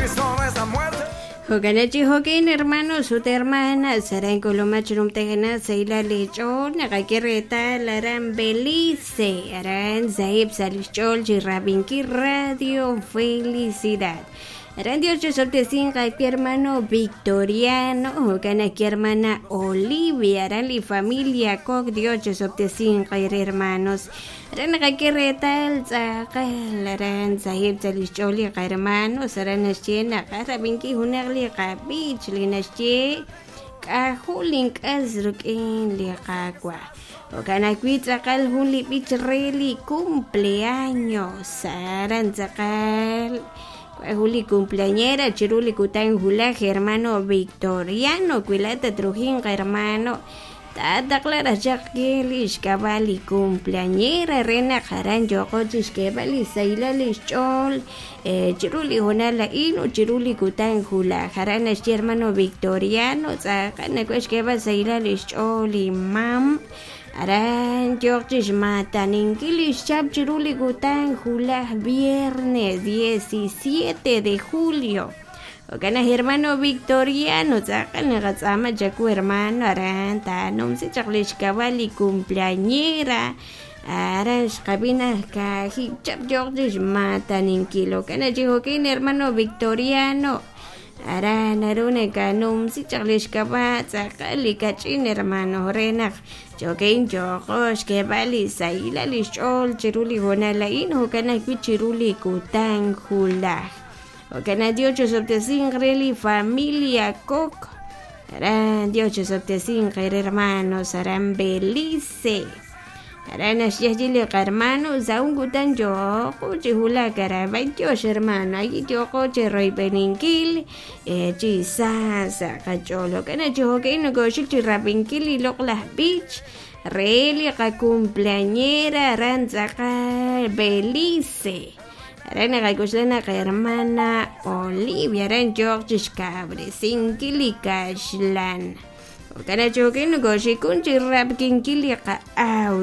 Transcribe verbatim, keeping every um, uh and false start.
Cristo no es la muerte. Jokanachi jokin hermanos ut hermanas aran kolomach rumtejana saila lechol naqakirreta laran Belice aran sahib salichol chirrabinki Radio Felicidad. Aran Dios chosoltesinqa aquí hermano Victoriano, jokana aquí hermana Olivia, aran li familia kok Dios chosoltesinqa hermanos. Aran naqakirreta tz'aqal aran sahib salichol hermanos aran naxche naqarrabinki junaq li qabich li naxche k'ajul k'as ruk'in li qakwa. Okanakui tz'aqal jun li b'ich re li cumpleaños aran tz'aqal Juli cumpleañera, chiruli kutan julaj, hermano Victoriano, cuilata trujinga, hermano. Tata clara chakelish kabali cumpleañera, rena jaran yokochish kebali saila chol, eh, chiruli jonala inu, chiruli kutan julaj, jaran hermano Victoriano, tzakana kuesh saila chol y mam. Aran yoqchish mataninkilish chap chiruli kutan julaj viernes diecisiete de julio. Okana hermano Victoriano, tzakana gatzama chaku hermano, aran tanumsi chaklish kabali cumpleañera. Aran xkabina kaji chap yoqchish mataninkilo. Okana chihokin hermano Victoriano. Aran aruna kanumsi chaklish kaba tzakali kachin hermano renaj. Chokein chokosh kebali saila lishol chiruli jonalain hokana chiruli kutan julaj. Okana Dios chosoptesin reli familia kok. Aran Dios chosoptesin hermanos aran Belice. Aran ashiajili hermanos aun kutan yoko chihula karabay Dios hermano ay yoko chiroy beninkil chisasa kacholo kana chihokein no goshik chirapinkil y loklah beach. Reli ka cumpleañera aran Belice. Aran nakakuslana ka hermana Olivia aran George Cabre sinkili kashlan. Kana chokin goshikun chirap kinkili ka audio.